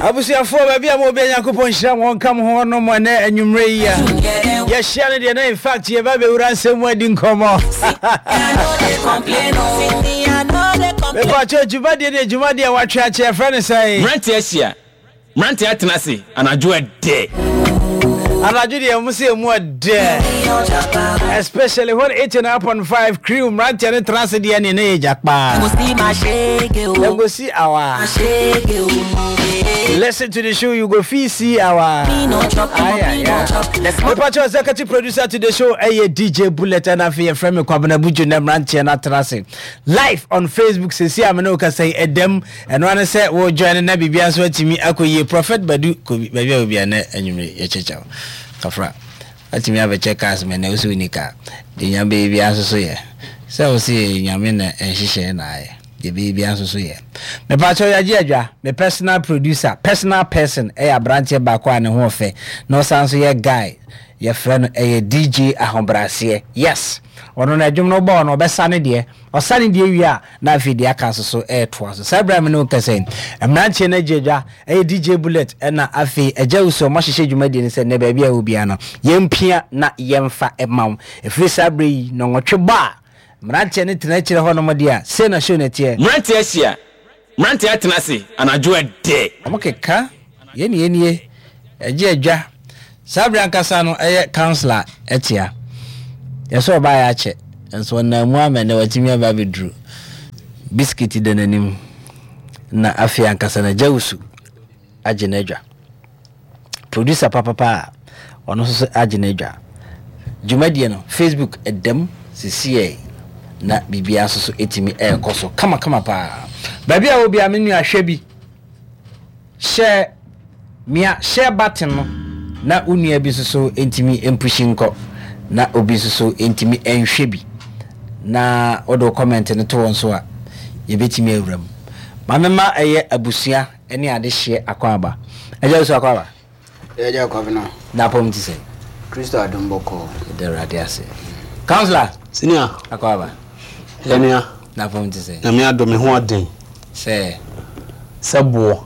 Abusuafoɔ baabi a mo bia Nyankopɔn nhyira mo nka mo ho nom ɛnɛ anwummerɛ yi a yɛhyia no deɛ na in fact yɛba bɛwura nsɛm mu adi nkɔmmɔ. Mepakyɛ dwumadie ne dwumadie a watwe akyɛ yɛfrɛ no sɛn? Mmeranteɛ ahyia, mmeranteɛ atena ase anadwo ɛdɛ. Anadwo deɛ ɔmo sɛ emu ɛdɛ. Especially when 89.5 crew mmeranteɛ no tena ase deɛ ne ne yɛ gya kpaa. Dem go see our. Listen to the show, you go feel see our. Aye, aye, aye. Mepakyɛ executive producer to the show ɛyɛ DJ Bullet ɛna afei yɛfrɛ me Kwabena Buju na mmeranteɛ no atena ase live on Facebook sɛsi a me ne wo kasa yi ɛdam. Ɛno ara ne sɛ wo join na biribia nso atumi akɔ yie. Prophet Badu kɔ baabi a obia nɛ anwummere yɛkyɛkyɛ wo. Kafra. Watumi abɛkyɛ cars ma ɛnɛ wo sɛ wonni car. Deɛ Nyame bɛyɛ biara nso so yɛ. Sɛ wo se Nyame na nhyehyɛɛ na ayɛ. Deɛ ɛbɛyɛ biara nso so yɛ. Mepakyɛw yɛagye adwa. Me personal producer, personal person ɛyɛ abranteɛ baako a ne ho ɔfɛ na ɔsan nso yɛ guy. Yɛfrɛ no ɛyɛ DJ Ahobraseɛ. Yes! Ɔno no ɛdwom no wobɔ ɔno ɔbɛsa ne deɛ. Ɔsa ne deɛ wie a, na afei deɛ aka nso so retoa so. Saa berɛ a me ne wo kasa yi, mmeranteɛ no agye adwa, ɛyɛ DJ Bullet ɛna afei Agya Wusu, wɔahyehyɛ dwumadie no sɛ nnɛ baabi a ɛwɔ biara no, yɛmpia na yɛmfa mma wo. Ɛfiri saa berɛ yi, nnɔnwɔtwe bɔ a, mmeranteɛ no tena akyire hɔnom deɛ a, sei na show no teɛ. Mmeranteɛ ahyia, Mmeranteɛ atena ase anadwo ɛdɛ. Wɔkeka, yɛn ne yɛn nie, ɛgye adwa. Saa berɛ ankasa no ɛyɛ councilor ɛtea. Yɛsɛ ɔbaeɛ akyɛ, nso ɔnam mu ama ɛnnɛ watumi aba abɛduru. Biscuit da n'anim, na afei ankasa no agya wusu agye n'adwa. Producer papapa a ɔno nso so agye n'adwa. Dwumadie no, Facebook ɛdam sisiɛ na biribiara nso so ɛtumi ɛrekɔ so kamakama paa. Baabi a wɔ biara me nua hwɛ bi. Hyɛ mia share button no na wo nua bi nso so ntumi mpushi nkɔ na obi nso so ntumi nhwɛ bi na wode wo comment no to hɔ nso a yɛbɛtumi awura mu. Ma mema ɛyɛ abusua ne adehyeɛ akwaaba. Agya Owusu akwaaba. Yɛagya Kwabena. N'apɔm te sɛn? Kristo adom bɔkɔɔ. Yɛda Awurade ase. Councillor. Senior. Akwaaba. Yɛnua. N'apɔm te sɛn? Nyame adom me ho ɔden. Sɛ. Sɛ boɔ.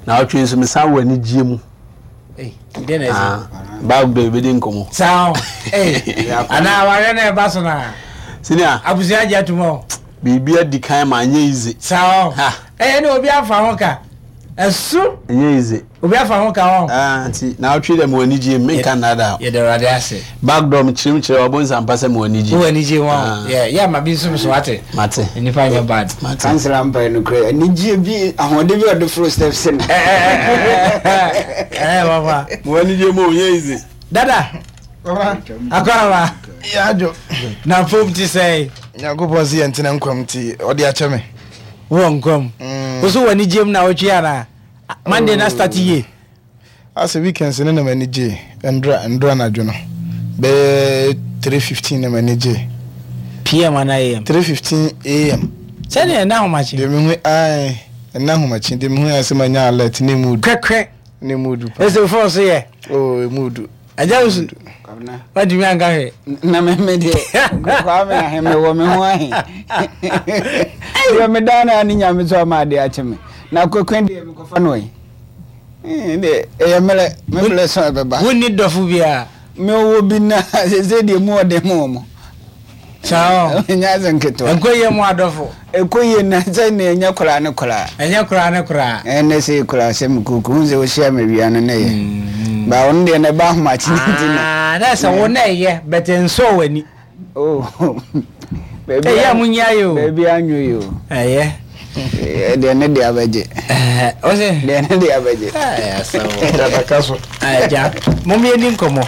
Na ɔtwe nso mesan wɔ anigyeɛ mu. Ei, deɛ na ɛsi. Ah, Bible bɛ bɛdi nkɔmmɔ. Saa o. Ei, anaa awareɛ na ɛba so na. Senior. Abusua agye atum o. Biribi adi kan ma anyɛ easy. Saa o. Ha. Ɛyɛ ne obi afa ho ka. Ɛso. Ɛnyɛ easy. Obi afa ho ka wɔn. Ah, nti na ɔtwe dɛ mewɔ anigye mu menka nnaadaa. Yɛda Awurade ase. Back door mekyerɛ mu kyerɛ wabɔ nsampa sɛ mewɔ anigye. Wowɔ anigye mu ah. Yeah, yeah, ma bi nso so ate. Mate. Nipa nyɛ bad. Mate. Kansela mpa yɛ nokorɛ anigye bi ahoɔden bi a ɔde foro steps no. Ɛɛ papa. Mewɔ anigye mu o, nyɛ easy. Dada. Papa. Akɔraba. Yɛ adwo. Na fom ti sɛn. Nyankopɔn se yɛntena nkwa mu nti ɔde akyɛ me. Wowɔ nkwa mu. Wo so wɔ anigye mu na wotwe anaa? Monday na start yie. Asɛ weekends no na m'ani gye ndra ndra anadwo no bɛyɛ 3:15 na m'ani gye. PM ana AM? 3:15 AM. Sɛdeɛ ɛna ahomakye. Deɛ mehu ae ɛna ahomakye deɛ mehu ayɛ sɛ manya alert ne mu du. Kɛkɛ. Ne mu du paa. Ɛsɛ phone so yɛ. Oh emu du. Agya wusu. Wantumi anka hwee. Na me me deɛ Kwame ahe me wɔ me ho ahe. Deɛ me dan na ne nyame so ama ade akye me. Na kwekwe deɛ mekɔfa no yi. Deɛ ɛyɛ mmerɛ me mmerɛ so ɛbɛba. Wonni dɔfo biara. Me wɔ bi na sese deɛ mu ɔden mu wɔn. Saa o. Ɛnyɛ asɛm ketewa. Ɛnkɔ yie mu adɔfo. Ɛkɔ yie na sɛ ne ɛnyɛ koraa ne koraa. Ɛnyɛ koraa ne koraa. Ɛnɛ sɛ koraa sɛ me kuku hu sɛ wohyia me wia no ne yɛ. Mm. Ba ɔno deɛ na ɛba ahomakye ne nti na. Ah, na sɛ wo na ɛyɛ but ɛnsɔ w'ani. Oh. Baabi a mo nyi ayɛ o. Baabi anwo yi o. Ɛyɛ. Deɛ ne deɛ abɛgye. Ɔsɛ. Deɛ ne deɛ abɛgye. Ɛyɛ asɛm. Dada so. Agya, mo yɛ ni nkɔmɔ.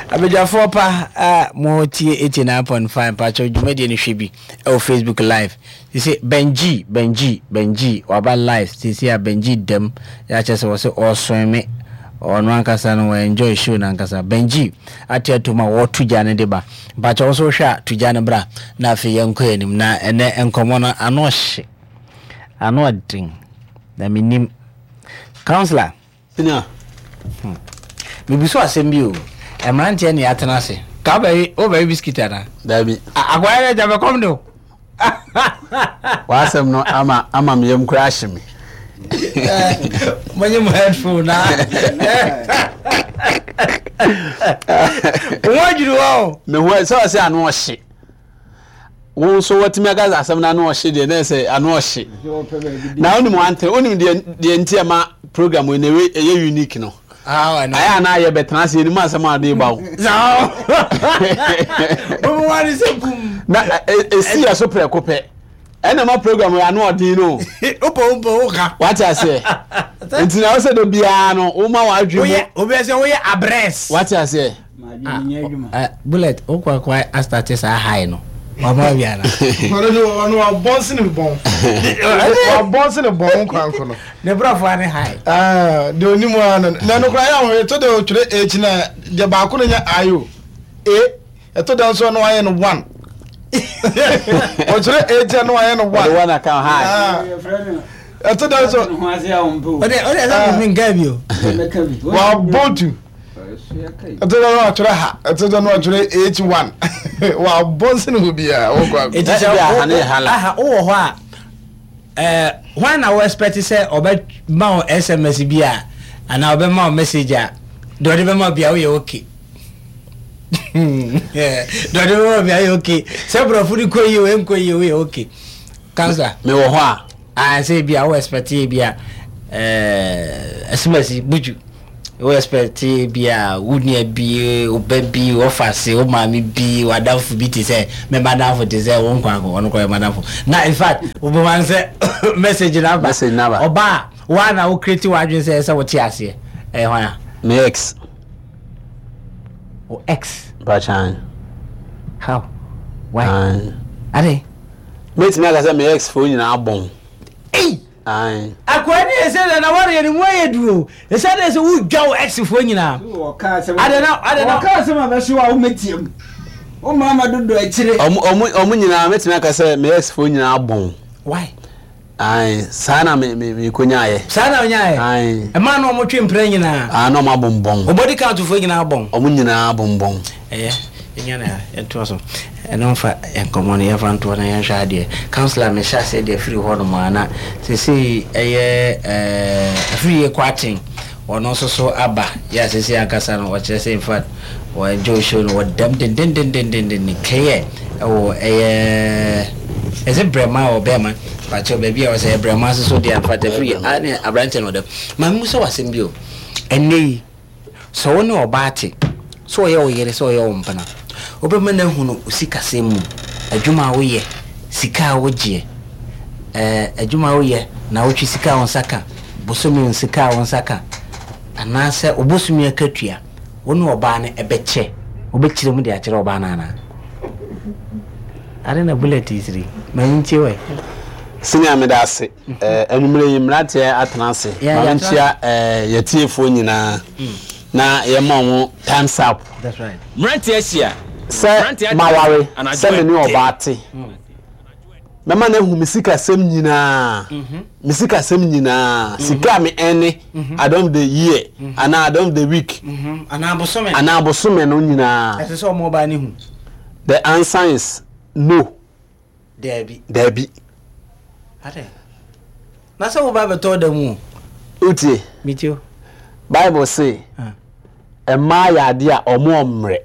Abadwafoɔ pa a motie 89.5 mpakyɛw dwumadie no hwɛ bi ɛwɔ Facebook live. Sese Benji Benji Benji waba live sese a Benji dam yɛ akyɛ sɛ wɔsɛ ɔreswɛn ɔno ankasa no wɔ enjoy show no ankasa. Benji ate atom a wɔto gya no de ba. Mpakyɛw nso wohwɛ a to gya no bra na afei yɛnkɔ anim na ɛnɛ nkɔmmɔ no ano ɔhye ano ɔden na menim. Counselor. Senior. Hmm. Mebusu asɛm bi o. Mmeranteɛ ne yɛatena ase. Ka wobɛwe wobɛwe biskit anaa? Dabi. Akwaa yɛ gya bɛkɔm de o. W'asɛm no ama ama me yam koraa ahye me. Monye mo headphone na. Wo adwiri wa o. Me ho sɛ ɔsɛ ano ɔhye. Wo nso watumi aka sɛ asɛm no ano ɔhye deɛ na ɛsɛ ano ɔhye. Na wonim wante wonim deɛ deɛ nti ɛma program wei na ɛyɛ unique no. Ayɛ a na ayɛ bɛtena ase yɛnim asɛm a ade ba wo. Na ɛsi yɛ so prɛko pɛ. Ɛna ma program yɛ ano ɔden no. Wopɔ wopɔ woka. Wate aseɛ. Nti na wosɛ da biara no woma w'adwene mu. Obi sɛ woyɛ abrɛs. Wate aseɛ. Ah, bullet wokɔ akɔ astate saa high no. Wama bi ana. Ɔno de ɔno wabɔn sene bɔn. Wabɔn sene bɔn nkwanko no. Ne brɔfo ane high. Ah, de onim ara no. Na no koraa yɛ ahoyɛ to de otwerɛ H na deɛ baako no nyɛ I o. A Ɛtɔ da nso a na wayɛ no one. Ɔkyerɛ eight a na wayɛ no one. Ɔde one aka hi. Ah. Ɛtɔ da nso. Ɔde ɔde ɛsɛ mi nka bi o. Wabɔ tu. Ɛtɔ da na watwerɛ ha. Ɛtɔ da na watwerɛ eight one. Wabɔ nsene hɔ biara. Wɔkɔ akɔ. Eti sɛ o aha wowɔ hɔ a ɛɛ hwan na wo expect sɛ ɔbɛ ma wo sms bi a anaa ɔbɛ ma wo message a deɛ ɔde bɛ ma bi a woyɛ okay. Dɔde wɔ mi ayɛ okay. Sɛ borɔfo no kɔ yie o ɛnkɔ yie o yɛ okay. Kansa. Mewɔ hɔ a. Ah sɛ ebi a wo expect ebi a ɛɛ ɛsomasi buju. Wo expect ebi a wo nua bi, wo ba bi, wo fase, wo maame bi, w'adamfo bi te sɛ me madamfo te sɛ wo nkwa ɔno kɔ yɛ madamfo. Na in fact wo bɛ ma sɛ message na ba. Message na ba. Ɔba a wa na wo create w'adwene sɛ ɛsɛ wo te aseɛ. Ɛyɛ hwan a? Me ex. Wo ex. Mpakyɛw. How? Why? Aye. Ade. Mɛtumi aka sɛ me ex foɔ nyinaa bɔn. Ei! Aye. Akoa ni ɛsɛ dɛ na wɔreyɛ no mu ayɛ duro. Ɛsɛ dɛ sɛ wodwa wo ex foɔ nyinaa. Ade na ade na. Wɔka asɛm a bɛhye wo a womɛtia mu. Wo mama dodo akyire. Ɔmo ɔmo ɔmo nyinaa mɛtumi aka sɛ me ex foɔ nyinaa bɔn. Why? Ae, saa na me me mekonyaeɛ. Saa na wonyaeɛ? Ae. Mmaa na wɔtwe mpena nyinaa? Ae, na wɔn abonbɔn. Wo body count foɔ nyinaa bɔn? Wɔn nyinaa abonbɔn. Ɛyɛ, yɛnya no ha, yɛntoa so. Ɛno mfa yɛn nkɔmmɔ no, yɛmfa ntoɔ na yɛnhwɛ adeɛ. Councillor, mehyɛ aseɛ deɛ firi hɔ nom a, na seesei ɛyɛ ɛɛ Afriyie Kwarteng. Ɔno nso so aba yɛ a sesei ankasa no ɔkyerɛ sɛ infact wɔ enjoy show no wɔ dɛm dendendendendenden clear ɛwɔ ɛyɛ is it brɛma or bɛɛma pakyɛw baabi a ɔsɛ ɛyɛ brɛma nso so deɛ infact afiri a ne aberanteɛ no wɔ dɛm ma me musa wɔ asɛm bi o ɛnɛ yi sɛ wo ne ɔbaa te sɛ ɔyɛ wo yere sɛ ɔyɛ wo mpena wobɛma no ahunu wo sikasɛm mu adwuma a woyɛ sika a wogyeɛ ɛɛ adwuma a woyɛ na wotwe sika a wo nsa ka Bosome sika a wo nsa ka anaasɛ wo bosome akatua, wo ne ɔbaa no ɛbɛkyɛ, wobɛkyerɛ mu de akyerɛ ɔbaa no anaa? Ade na bullet yi siri, ma mentie wɛ. Senior meda ase. Anwummerɛ yi mmeranteɛ atena ase. Ma menkyia yɛtiefoɔ nyinaa na yɛma wɔn times up. That's right. Mmeranteɛ ahyia. Sɛ maware, sɛ me ne ɔbaa te. Mɛma no ahu me sikasɛm nyinaa, me sikasɛm nyinaa, sika a me ɛne at the end of the year anaa at the end of the week anaa bosome anaa bosome no nyinaa. Ɛsɛ sɛ ɔmo ɔbaa no hu. The answer is no. Daabi. Daabi. Adɛn? Na sɛ woba bɛtɔ da mu o. Wotie? Metie o. Bible se mmaa yɛ adeɛ a wɔn ɔmmerɛ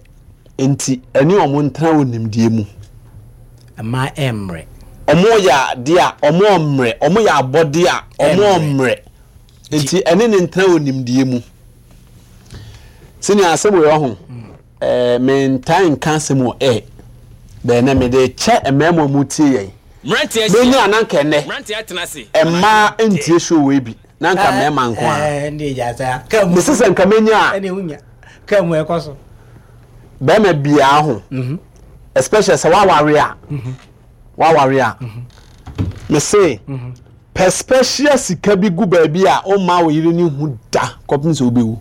nti ɛne wɔn ntena wɔ nimdeɛ mu. Mmaa ɛmmerɛ. Wɔn yɛ adeɛ a wɔn ɔmmerɛ, wɔn yɛ abɔdeɛ a wɔn ɔmmerɛ nti ɛne ne ntena wɔ nimdeɛ mu. Sɛnea asɛm wɔ ho. Eh, mentaa nka asɛm wɔ air, but ɛnɛ mede rekyɛ mmarima a wɔtie yɛn. Mmeranteɛ ahyia. Menya a na anka ɛnɛ Mmeranteɛ atena ase. mmaa ntie show wei bi, na anka mmarima nko ara. Eh, ɛnde gya saa. Kaa mu. Mese sɛ nka menya a. Ɛnde wonya. Kaa mu ɛkɔ so. Barima biara ho, especially sɛ woaware a, woaware a, mese Pɛ special sika bi gu baabi a womma wo yere no nhu da kɔpem sɛ wobɛwu.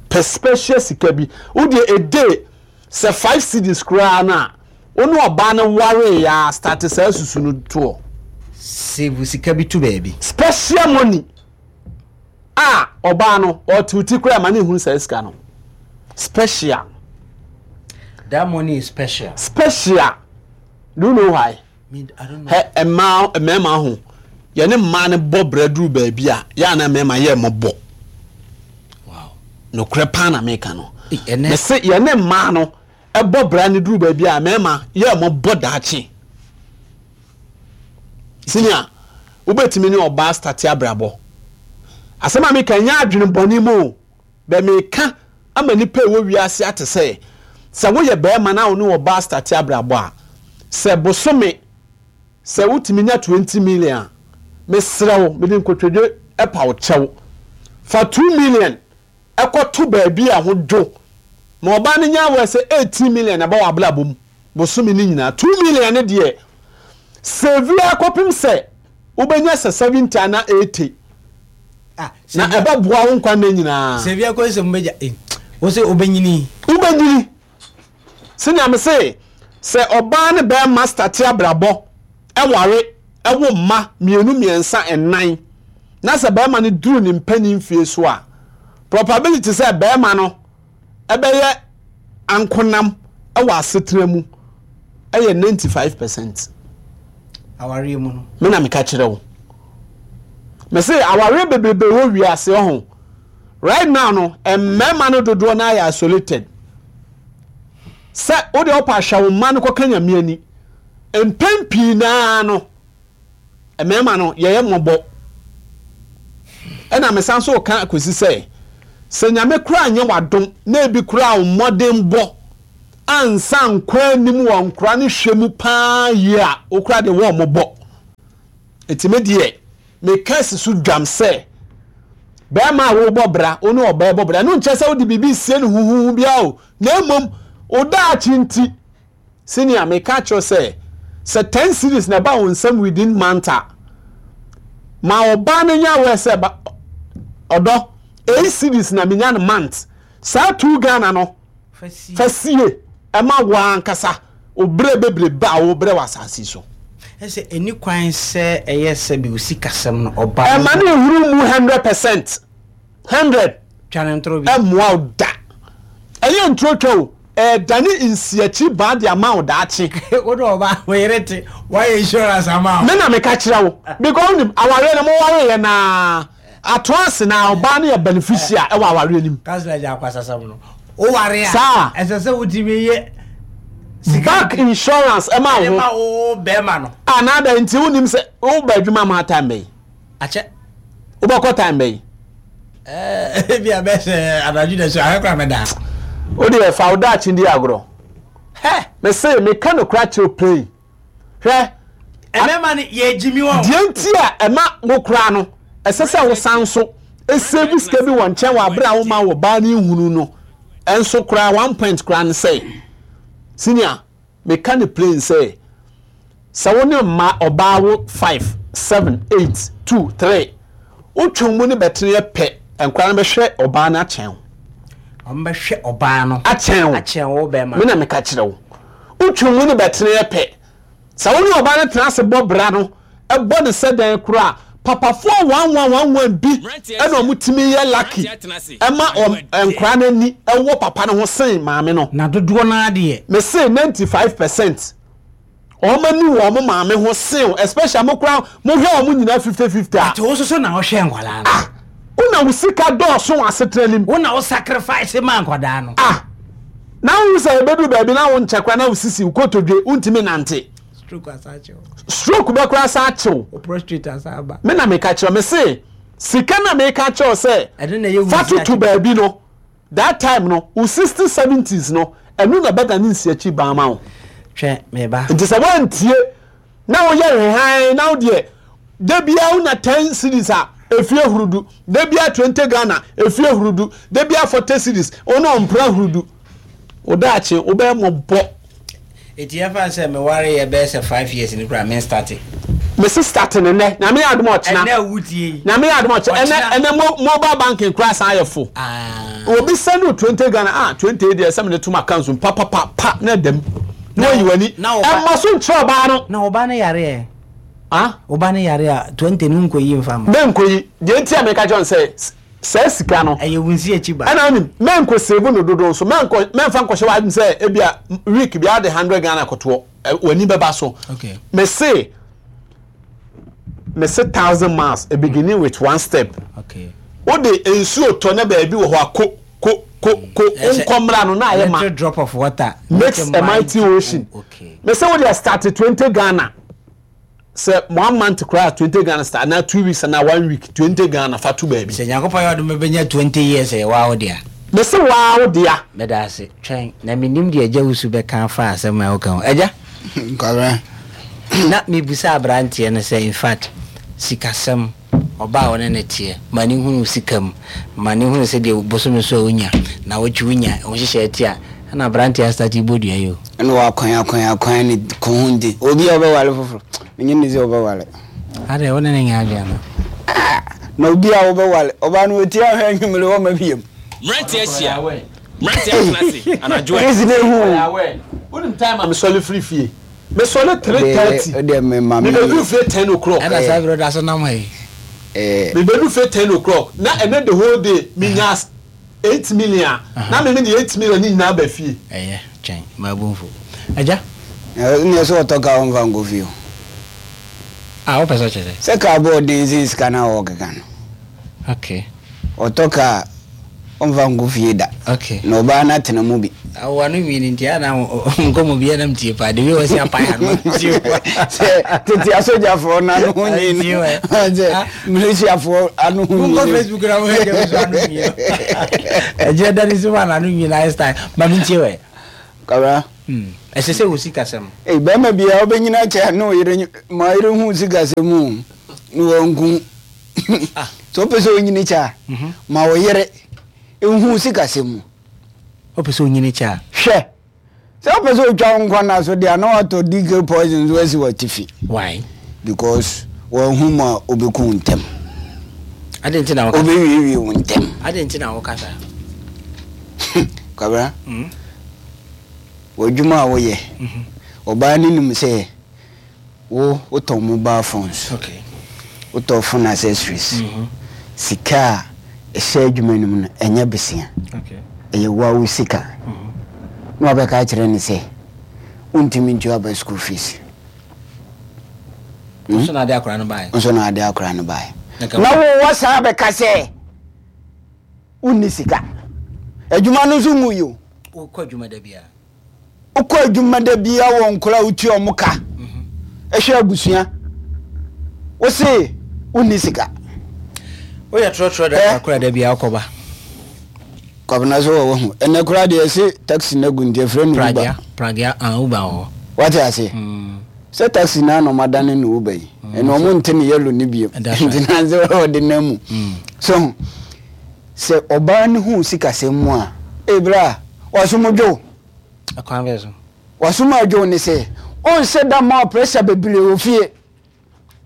Pɛ special sika bi. Wo deɛ a day sɛ 5 cedis koraa no a, wo ne ɔbaa no waree a start saa susu no toɔ. Save sika bi to baabi. Special money a ɔbaa no ɔte wo ti koraa ma ne nhunu saa sika no. Special. That money is special. Special. Do you know why? Hɛ mmaa mmarima ho. Yɛne mmaa no bɔ bra duru baabi a, yɛ a na mmarima yɛ mmɔbɔ. Nokorɛ paa na meka no. Mese yɛne mmaa no bɔ bra no duru baabi a, mmarima yɛ mmɔbɔ daakye. Senior, wobɛtumi ne ɔbaa starte abrabɔ. Asɛm a meka nyɛ adwene bɔne mu o, bɛ meka ama nipa ɛwɔ wiase ate sɛ, sɛ woyɛ barima na wo ne ɔbaa starte abrabɔ a, sɛ bosome Sɛ wotumi nya 20 million a, mesrɛ wo, mede nkotodwe pa wo kyɛw, fa 2 million kɔto baabi a ɛho dwo ma ɔbaa no nya aware sɛ 18 million na ɛba w'abrabɔ mu bosome no nyinaa. 2 million no deɛ, save ara kɔpem sɛ wobɛnya sɛ 70 anaa 80 Ah, na ɛbɛboa wo nkwa nna nyinaa. Save ara kɔsi sɛ mobɛgya, eh, wo sɛ wobɛnyini. Wobɛnyini. Sɛnea mese, sɛ ɔbaa ne barima state abrabɔ, ware, wo mma mmienu, mmiɛnsa, nnan, na sɛ barima no duru ne mpanin mfie so a, probability sɛ barima no bɛyɛ ankonam wɔ asetena mu yɛ 95 percent. Awareɛ mu no. Me na meka kyerɛ wo. Mese awareɛ bebrebe wɔ wiase ɔho. Right now no mmarima no dodoɔ no ara yɛ isolated. Sɛ wo deɛ wopɛ ahwɛ wo mma no kɔka Nyame ani. Mpɛn pii naa no mmarima no yɛyɛ mmɔbɔ. Ɛna mesan so ka kɔsi sɛ sɛ Nyame koraa nyɛ w'adom na ebi koraa wo mmɔdenbɔ ansa nkɔ anim wɔ nkora no hwɛ mu paa yie a wo koraa deɛ wɔn mmɔbɔ. Nti me deɛ Meka si so dwam sɛ, barima a worebɔ bra, wo ne ɔbaa rebɔ bra, ɛno nkyerɛ sɛ wode biribi resie no huhuhu biara o, na mmom wo daakye nti. Senior, meka akyerɛ wo sɛ, sɛ ten cedis na ɛba wo nsam within month a, ma ɔbaa no nyɛ aware sɛ, ba, ɔdɔ, eight cedis na menya no month. Saa two Ghana no, Fa sie ma wo ankasa wo berɛ bebrebe a wobrɛ wɔ asase yi so. Ɛsɛ ɛni kwan sɛ ɛyɛ sɛbi wo sikasɛm no ɔba no. Ɛma no nhuru mu 100%, 100. Twa no ntoro bi. Ɛmmoa wo da. Ɛnyɛ ntoro twa o, ɛredane nsiakyi baa de ama wo daakye. Wo ne ɔba wo yere te, woayɛ insurance ama wo. Me na meka kyerɛ wo, because wonim, awareɛ no mowareeɛ no ara, Atoa ase na ɔbaa no yɛ beneficial ɛwɔ awareɛ no mu. Councilor gya akwasasɛm no. Woware a. Saa. Ɛsɛ sɛ wotumi yɛ sika. Bank insurance ɛma wo ho. Ɛma wo bɛrima no. Ah na adɛn nti wonim sɛ woba adwuma ma time bɛyi. Akyɛ. Wobɛkɔ time bɛyi. Ɛɛ ebi a bɛsɛ anadwo da so ahwɛ kora mɛda. Wo deɛ fa wo daakye di agorɔ. Hɛ. Mese meka nokora kyerɛ plain. Hwɛ. Mmarima no yɛ gyimi wɔn. Deɛ nti a ɛma wo koraa no, ɛsɛ sɛ wosan nso save sika bi wɔ nkyɛn wɔ abere a woma wɔ baa no nhunu no nso koraa one point koraa ne sɛ, senior, meka no plain sɛ, sɛ wo ne mma ɔbaa wo five, seven, eight, two, three, wotwe mu ne bɛteneɛ pɛ, nkwadaa no bɛhwɛ ɔbaa no akyɛn wo. Wɔn bɛhwɛ ɔbaa no akyɛn wo. Akyɛn wo bɛrima. Me na meka kyerɛ wo. Wotwe mu ne bɛteneɛ pɛ. Sɛ wo ne ɔbaa no tena ase bɔ bra no, bɔ no sɛ dɛn koraa a, papafoɔ one one one one bi na wɔn tumi yɛ lucky ma wɔn nkwadaa no ani wɔ papa no ho sen maame no. Na dodoɔ no ara deɛ. Mese 95 percent wɔn ani wɔ wɔn maame ho sen wo, especially mo koraa mo hwɛ wɔn nyinaa 50-50 a. But wo nso so na wohwɛ nkwadaa no. Ah! Wo na wo sika dɔɔso wɔ asetena no mu. Wo na wo sacrifice maa nkwadaa no. Ah! Na wohu sɛ ɛbɛduru baabi na wo nkyɛ koraa na wo sisi, wo kotodwe, wontumi nante. Stroke asan akye wo. Stroke bɛ koraa san akye wo. Wo prostrate asan aba. Me na meka kyerɛ, me se sika na meka kyerɛ wo sɛ Ɛno na ɛyɛ wo fa nsi toto akyi. baabi no, that time no, wo 60s, 70s no, ɛno na ɛbɛdane nsiakyi baa ma wo. Hwɛ, me ba. Nti sɛ woantie na woyɛ hwehan na wo deɛ da biara wonya 10 cedis a efie hurudu, da biara 20 Ghana efie hurudu, da biara 40 cedis wo ne ɔmpra hurudu, wo daakye wobɛyɛ mmɔbɔ. Eti yɛmfa no sɛ meware yɛ bɛyɛ sɛ 5 years ni koraa men starte. Mese starte no nnɛ, Nyame yɛ adom a ɔkyena. Ɛnnɛ a wotie yi. Nyame yɛ adom a ɔkyena, ɛnnɛ Ɔkyena. ɛnnɛ mo mobile banking koraa san ayɛ fo. Ah. Obi send wo 20 Ghana, ah 20 yi deɛ sɛ mede to m'account mu papapa pa na ɛda mu. Na wayi w'ani. Na wo ba. Ɛmmɔ so nkyerɛ ɔbaa no. Na wo ba no yare ɛ? Ah? Wo ba no yare a, 20 no wonkɔyi mfa mma. Menkɔyi. Deɛ nti a meka kyerɛ wo no sɛ, saa sika no. Ɛyɛ wo nsi akyi ba. Ɛna wonim, menkɔ save no dodo nso. Menkɔ, mɛmfa nkɔhyɛ w'adwene sɛ ebia week biara wode 100 Ghana kɔtoɔ. W'ani bɛba so. Okay. Mese, Mese thousand miles a beginning with one step. Okay. Wode nsuo tɔ na baabi wɔ hɔ a ko ko ko ko wonkɔ mmra no na ayɛ ma. Little drop of water makes a mighty ocean. Okay. Mese wode start 20 Ghana sɛ one month koraa 20 Ghana start anaa 2 weeks anaa one week 20 Ghana fa to baabi. Sɛ Nyankopɔn yɛ ɔdom bɛnya 20 years ɛyɛ waa wo dea. Mese waa wo dea. Meda ase. Twɛn, na mennim deɛ Agya Wusu bɛka afa asɛm a woka ho. Agya? Kwabena. Na mebisa aberanteɛ no sɛ, in fact, sikasɛm, ɔbaa a wo ne no teɛ, ma no hunu wo sika mu, ma no hunu sɛdeɛ bosome so a wonya, nnawɔtwe wonya, wo nhyehyɛeɛ te a, ɛna aberanteɛ astate bɔ dua yi o. Ɛna wakwan akwan akwan ne kɔn ho nti, obi a ɔbɛware foforɔ, menye no sɛ ɔbɛware. Adɛn, wo ne no nyɛ adwene anaa? Ah! Na obi a wobɛware, ɔbaa no ɔtie ahwɛ anwummere ɔmma biam. Mmeranteɛ ahyia. Mmeranteɛ atena ase anadwo ɛ. Case no ehu o. Wonim time a mesɔre firi fie? Mesɔre 3:30. Wodeɛ me ma me. Mebɛduru fie 10 o'clock. Ɛna saa berɛ ɔda so nam ha yi. Mebɛduru fie 10 o'clock na ɛnɛ the whole day menya 8 million a na me mede 8 million no nyinaa ba fie. Ɛyɛ twɛn m'abomfo. Agya. Ɛneɛ sɛ ɔtɔ kaa ɔmfa nkɔ fie o. Ah wopɛ sɛ ɔkyerɛ sɛ? Sɛ kaa bɔ ɔden sen sika no a ɔɔkeka no. Okay. Ɔtɔ kaa a, ɔmfa nkɔ fie da. Okay. Na ɔbaa no atena mu bi. Awo ano nwi no nti a na nkɔmmɔ biara na metie paa. The way wɔsi apae ano tie paa. Sɛ tete asogyafoɔ no ano ho nwi no. Sɛ militiafoɔ ano ho nwi no. Monkɔ Facebook na mohwɛ deɛ nso ano nwi no. Ɛgyina da ne so ma n'ano nwi no ayɛ style. Ma mentie wɛ. Kabra. Ɛsɛ sɛ wɔ sikasɛm. Ei, bɛrima biara wobɛnyini akyɛ ne wo yere ma yere hu sikasɛm o na wanku. Sɛ wopɛ sɛ onyini kyɛ a, ma wo yere nhu sikasɛm mu. Wopɛ sɛ onyini kyɛ a. Hwɛ! Sɛ wopɛ sɛ otwa wo nkwa nna so deɛ a, na watɔ DK poison nso asi w'atifi. Why? Because wanhu mu a, obeku wo ntɛm. Adɛn nti na woka saa? Obewiewie wo ntɛm. Adɛn nti na woka saa? Kwabena, w'adwuma a woyɛ, ɔbaa no nim sɛ Wo wotɔn mobile phones, wotɔ phone accessories, sika a ɛhyɛ adwuma no mu no ɛnyɛ besia, ɛyɛ wo ara wo sika. Na wabɛka akyerɛ no sɛ wontumi ntua aba school fees. Nso na ade akora no baeɛ. Nso na ade akora no baeɛ. Na wo wasan abɛka sɛ wonni sika. Adwuma no nso ngui o. Wokɔ adwuma da biara. Wokɔ adwuma da biara wɔ nkwadaa a wotua wɔn ka, hwɛ abusua. Wose wonni sika. Woyɛ trɔtrɔ driver koraa da biara wokɔba. Kwabena so wɔ wahu. Ɛnɛ koraa deɛ ɛse taxi no agu nti ɛfrɛ no Uber. Pragea, pragea, ah Uber wɔ hɔ. Wate ase? Sɛ taxi no ara na wɔadane no Uber yi. Ɛnna wɔn nte ne yellow no bio. Nti na sɛ wɔde nam mu. So Sɛ ɔbaa no hu wo sikasɛm mu a, ei bra, w'asom dwo wo. Ɛkwan bɛn so? W'asom a ɛdwo wo ne sɛ, ɔnhyɛ da mma wo pressure bebree wɔ fie.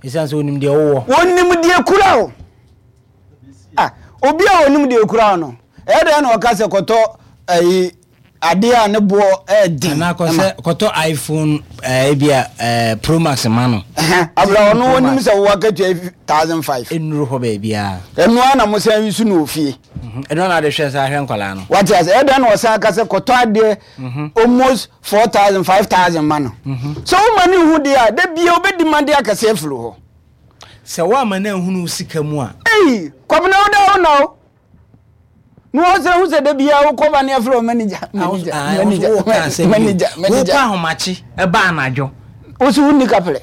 Esiane sɛ onim deɛ wowɔ. Onim deɛ ekura wo. Ah, obi a onim deɛ ekura wo no, ɛyɛ dɛn na ɔka sɛ kɔtɔ ayi Adeɛ a ne boɔ yɛ den. Anaa kɔ sɛ kɔtɔ iPhone ɛɛ ebi a ɛɛ Pro Max ma no. Abira ɔno onim sɛ wo akatua yi 1005. Ennuru hɔ baabiara. Ɛno ara na mo san use no wɔ fie. Ɛno ara na ade hwɛ san hwɛ nkwadaa no. Wate ase ɛdɛn na ɔsan ka sɛ kɔtɔ adeɛ almost 4000 5000 ma no. Sɛ woma no nhu deɛ a da biara ɔbɛdi ma de akɛseɛ afiri hɔ. Sɛ woamma no anhunu wo sika mu a. Ei Kwabena wo da wo na o. Na wɔn sɛ hu sɛ da biara wokɔ ba ne afrɛ wo manager manager manager manager manager. Wokɔ ahomakye ɛba anadwo. Wosi wonni kaprɛ.